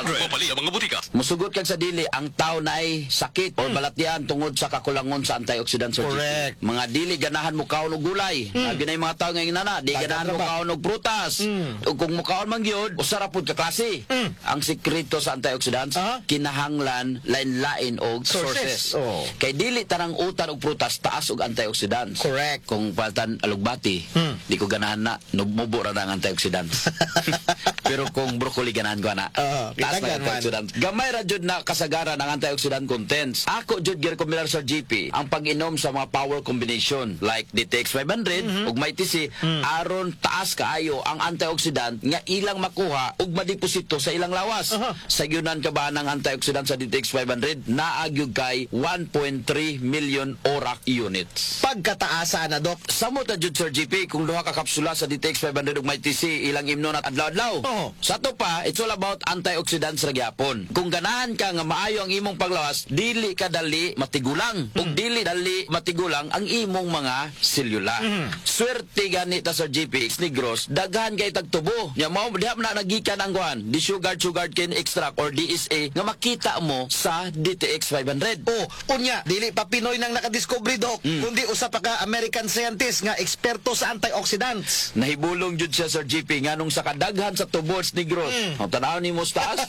500. Mapali ang mga butika. Musugot kag sa dili, ang tao naay sakit or balatian tungod sa kakulangon sa antioxidants, Sir GP. Correct. Mga dili ganahan mo kaon og gulay. Mm. Yung mga tao ngayon nana, di Tagat ganahan ra mo ba? Kaon og prutas. Ug kung mukaon man gyud, usa ra pud ka klase. Ang sekreto sa antioxidants, kinahanglan lain-lain og sources. sources. Oh. Kay dili tanang utan og prutas taas og antioxidants. Correct. Kung paltan alugbati, di ko ganahan na, mubo ra na ang antioxidants. Pero kung broccoli, ganahan ko na. Oo, taas na kitagan man. antioxidant. Gamay ra jud na kasagaran ang antioxidant contents. Ako jud girekomendar sa GP ang pag-inom sa mga power combination like DTX 500 ug Mighty C aron taas kaayo ang antioxidant nga ilang makuha ug madeposito sa ilang lawas. Sa yunan ka ba ng antioxidant sa DTX 500, naa gyud kay 1.3 million ORAC units. Pagkataasa na, Dok. Samot na jud, Sir GP, kung duha ka kapsula sa DTX 500 ug Mighty C ilang imnon at adlaw-adlaw. Sa to pa, it's all about antioxidants ra gyapon. Kung ganahan ka nga maayo ang imong paglawas, dili ka dali matigulang. Ug dili dali matigulang ang imong mga selula. Swerte gani ta, Sir GP, Negros, daghan kay tagtubo. Nya mao diha man na nagikan ang kuan, di sugar sugar cane extract or DSA nga makita mo sa DTX 500. Oh, unya, dili pa Pinoy nang nakadiscovery, Dok, kundi usa pa ka American scientist nga eksperto sa antioxidants. Nahibulong jud siya, Sir GP, nganong sa kadaghan sa tubos Negros. Mm. Tanaw nimo sa taas,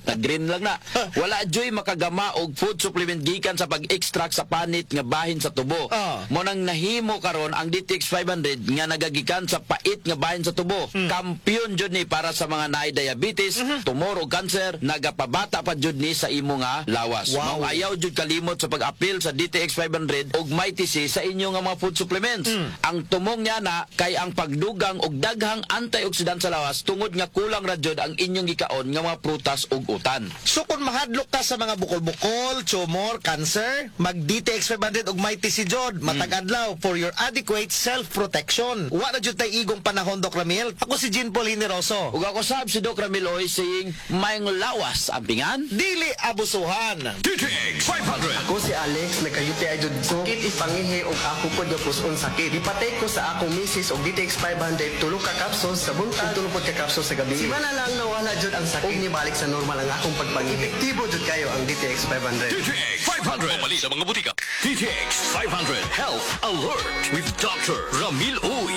nag-green lang na. Wala juy makagama og food supplement gikan sa pag-extract sa panit nga bahin sa tubo. Mo nang nahimo karon ang DTX 500 nga nagagikan sa pait nga bahin sa tubo. Kampiyon jud ni para sa mga naay diabetes, tumor o cancer, nagapabata pa jud ni sa imo nga lawas. Mao ayaw jud kalimot sa pag-apil sa DTX 500 ug Mighty C sa inyo nga mga food supplements. Ang tumong niya na kay ang pagdugang og daghang antioxidant sa lawas tungod nga kulang ra jud ang inyong gikaon nga mga prutas ug utan. So kung mahadlok ka sa mga bukol-bukol, tumor, cancer, mag DTX 500 ug Mighty C jud matag adlaw for your adequate self-protection. Wa na jud tay igong panahon, Doc Ramil. Ako si Jean Paul Hineroso. Ug ako sab si Doc Ramil Oy saying maayong lawas ampingan. Dili abusuhan. DTX 500. Ako si Alex, nagka-UTI jud ko. Sakit ipangihi og ako po gyapos-on sakit. Gipatake ko sa akong misis og DTX 500, tulo ka capsules sa buntag, tulo pod ka capsules sa gabi. Simana lang nawala jud ang sakit. Ug nibalik sa normal ang akong pagpangihi. Epektibo jud kayo ang DTX 500. DTX 500. Mapali sa mga butika. DTX 500 Health Alert with Dr. Ramil Uy.